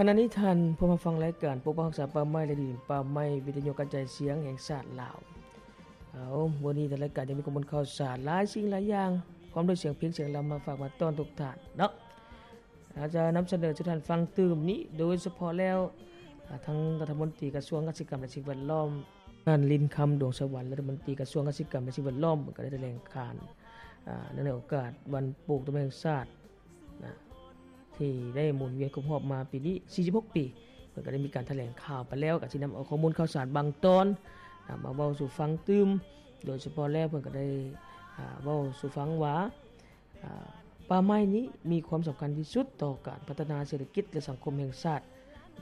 ຂະນະນີ້ທ່ານຜູ້ມາຟັງລາຍການປົກປັກຮັກສາປ່າໄມ້ ແລະ ດິນປ່າໄມ້ ວິທະຍຸກະຈາຍສຽງແຫ່ງຊາດລາວ. ເອົາ ມື້ນີ້ທາງລາຍການຍັງມີຂໍ້ມູນຂ່າວສານຫຼາຍສິ່ງຫຼາຍຢ່າງ ພ້ອມດ້ວຍສຽງເພງສຽງລຳມາຝາກມາຕ້ອນທຸກທ່ານເນາະ. ອາດຈະນຳສະເໜີສູ່ທ່ານຟັງຕື່ມນີ້ ໂດຍສະເພາະແລ້ວ ອາ ທາງລັດຖະມົນຕີກະຊວງກະສິກຳ ແລະ ສິ່ງແວດລ້ອມ ທ່ານ ລິນຄຳ ດວງສະຫວັນ ລັດຖະມົນຕີກະຊວງກະສິກຳ ແລະ ສິ່ງແວດລ້ອມ ເພິ່ນກະໄດ້ຖະແຫຼງການ ອາ ເນື່ອງໃນໂອກາດວັນປູກຕົ້ນໄມ້ແຫ່ງຊາດນະ ທີ່ໄດ້ໝູນວຽນຄົບຮອບມາປີນີ້ສີ່ສິບຫົກປີ ເພິ່ນກະໄດ້ມີການຖະແຫຼງຂ່າວໄປແລ້ວ ກະຊິນຳເອົາຂໍ້ມູນຂ່າວສານບາງຕອນນະ ມາເວົ້າສູ່ຟັງຕື່ມ. ໂດຍສະເພາະແລ້ວເພິ່ນກະໄດ້ ອາ ເວົ້າສູ່ຟັງວ່າ ອາ ປ່າໄມ້ນີ້ມີຄວາມສຳຄັນທີ່ສຸດຕໍ່ການພັດທະນາເສດຖະກິດ ແລະ ສັງຄົມແຫ່ງຊາດ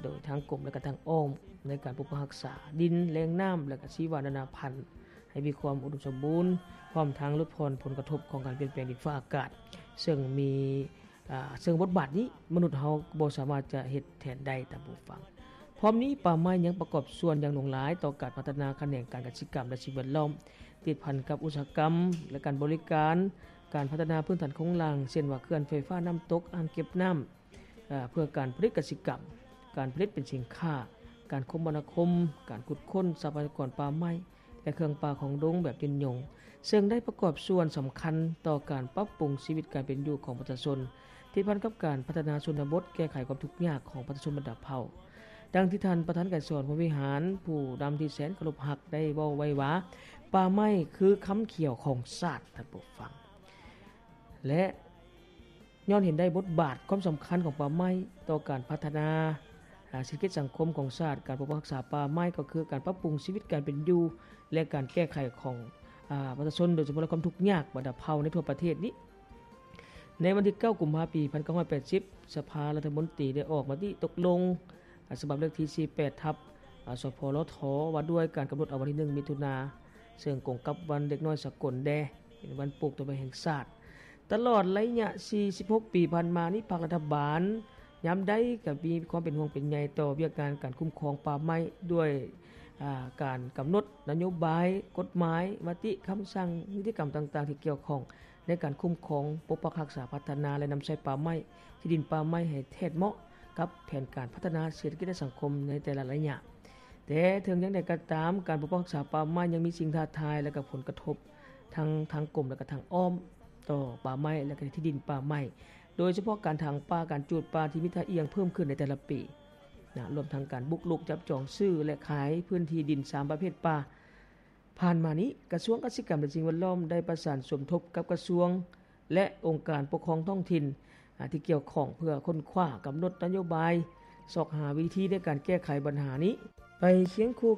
ໂດຍທາງກົມ ແລະ ກະທາງອ້ອມ ໃນການປົກປັກຮັກສາດິນ, ແຫຼ່ງນ້ຳ ແລະ ກະຊີວະນານາພັນ ໃຫ້ມີຄວາມອຸດົມສົມບູນ ພ້ອມທັງຫຼຸດຜ່ອນຜົນກະທົບຂອງການປ່ຽນແປງດິນຟ້າອາກາດ ເຊິ່ງມີ ອາ ເຊິ່ງບົດບາດນີ້ມະນຸດເຮົາບໍ່ສາມາດຈະເຮັດແທນໄດ້. ທ່ານຜູ້ຟັງ ພ້ອມນີ້ ປ່າໄມ້ຍັງປະກອບສ່ວນຢ່າງຫຼວງຫຼາຍຕໍ່ການພັດທະນາຂະແໜງການກະສິກຳ ແລະ ສິ່ງແວດລ້ອມ ຕິດພັນກັບອຸດສາຫະກຳ ແລະ ການບໍລິການ, ການພັດທະນາພື້ນຖານໂຄງລ່າງ ເຊັ່ນວ່າ ເຂື່ອນໄຟຟ້ານ້ຳຕົກ, ອ່າງເກັບນ້ຳ ເພື່ອການຜະລິດກະສິກຳ, ການຜະລິດເປັນສິນຄ້າ, ການຄົມມະນາຄົມ, ການຂຸດຄົ້ນຊັບພະຍາກອນປ່າໄມ້ ແລະ ເຄື່ອງປ່າຂອງດົງແບບຍືນຍົງ, ເຊິ່ງໄດ້ປະກອບສ່ວນສຳຄັນຕໍ່ການປັບປຸງຊີວິດການເປັນຢູ່ຂອງປະຊາຊົນ, ຕິດພັນກັບການພັດທະນາຊົນນະບົດ, ແກ້ໄຂຄວາມທຸກຍາກຂອງປະຊາຊົນບັນດາເຜົ່າ. ດັ່ງທີ່ທ່ານປະທານໄກສອນ ພົມວິຫານ ຜູ້ນຳທີ່ແສນເຄົາລົບຮັກ ໄດ້ເວົ້າໄວ້ວ່າ ປ່າໄມ້ຄືຄຳຂຽວຂອງຊາດ. ທ່ານຜູ້ຟັງ ແລະ ຍ້ອນເຫັນໄດ້ບົດບາດຄວາມສຳຄັນຂອງປ່າໄມ້ຕໍ່ການພັດທະນາ ອາ ເສດຖະກິດສັງຄົມຂອງຊາດ, ການປົກປັກຮັກສາປ່າໄມ້ກໍຄືການປັບປຸງຊີວິດການເປັນຢູ່ ແລະ ການແກ້ໄຂຂອງ ອາ ປະຊາຊົນ, ໂດຍສະເພາະແລ້ວຄວາມທຸກຍາກບັນດາເຜົ່າໃນທົ່ວປະເທດນີ້. ໃນວັນທີເກົ້າ ກຸມພາ ປີໜຶ່ງພັນເກົ້າຮ້ອຍແປດສິບ ສະພາລັດຖະມົນຕີໄດ້ອອກມະຕິຕົກລົງ ອາ ສະບັບເລກທີສີ່ແປດ ທັບ ອາ ສພລທ ວ່າດ້ວຍການກຳນົດເອົາວັນທີໜຶ່ງ ມິຖຸນາ ເຊິ່ງກົງກັບວັນເດັກນ້ອຍສາກົນແດ່ ເປັນວັນປູກຕົ້ນໄມ້ແຫ່ງຊາດ. ຕະຫຼອດໄລຍະສີ່ສິບຫົກປີຜ່ານມານີ້ ພັກລັດຖະບານຍາມໃດກໍມີຄວາມເປັນຫ່ວງເປັນໃຍຕໍ່ວຽກງານການຄຸ້ມຄອງປ່າໄມ້ ດ້ວຍ ອາ ການກຳນົດນະໂຍບາຍ, ກົດໝາຍ, ມະຕິ, ຄຳສັ່ງ, ນິຕິກຳຕ່າງໆທີ່ກ່ຽວຂ້ອງ ໃນການຄຸ້ມຄອງ, ປົກປັກຮັກສາ, ພັດທະນາ ແລະ ນຳໃຊ້ປ່າໄມ້, ທີ່ດິນປ່າໄມ້ໃຫ້ແທດເໝາະກັບແຜນການພັດທະນາເສດຖະກິດ ແລະ ສັງຄົມໃນແຕ່ລະໄລຍະ. ແຕ່ເຖິງຢ່າງໃດກໍຕາມ, ການປົກປັກຮັກສາປ່າໄມ້ຍັງມີສິ່ງທ້າທາຍ ແລະ ກໍຜົນກະທົບທັງທາງກົມ ແລະ ກໍທາງອ້ອມຕໍ່ປ່າໄມ້ ແລະ ກໍທີ່ດິນປ່າໄມ້, ໂດຍສະເພາະການຖາງປ່າ, ການຈູດປ່າທີ່ມີທ່າອ່ຽງເພີ່ມຂຶ້ນໃນແຕ່ລະປີນະ, ລວມທັງການບຸກລຸກຈັບຈອງຊື້ ແລະ ຂາຍພື້ນທີ່ດິນສາມປະເພດປ່າ. ຜ່ານມານີ້ ກະຊວງກະສິກຳ ແລະ ສິ່ງແວດລ້ອມ ໄດ້ປະສານສົມທົບກັບກະຊວງ ແລະ ອົງການປົກຄອງທ້ອງຖິ່ນ ອາ ທີ່ກ່ຽວຂ້ອງ ເພື່ອຄົ້ນຄວ້າກຳນົດນະໂຍບາຍ ຊອກຫາວິທີໃນການແກ້ໄຂບັນຫານີ້ ໄປຄຽງຄູ່